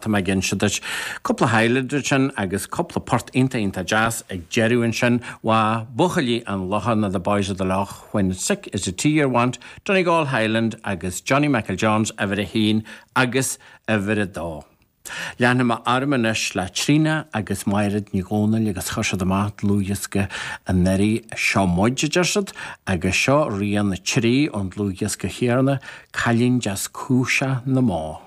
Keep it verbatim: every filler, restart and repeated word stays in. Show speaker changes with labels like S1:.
S1: Tá mé ag inse duit cúpla Highlander sin agus cúpla port iontach iontach deas ag deireadh ansin wa Buachaillí an Locha na The Boys of the Lough when sick is a tea you want, Donegal Highland agus Johnny Michael Jones uimhir a haon agus uimhir a dó. Leanfaidh mé orm anois le Tríona agus Máiréad Ní Dhomhnaill agus chuir siad amach dlúthdhiosca anuraidh seo muid a deir siad agus seo rian a trí ón dlúthdhiosca chéanna Cailín Deas Cúiseach na mBó.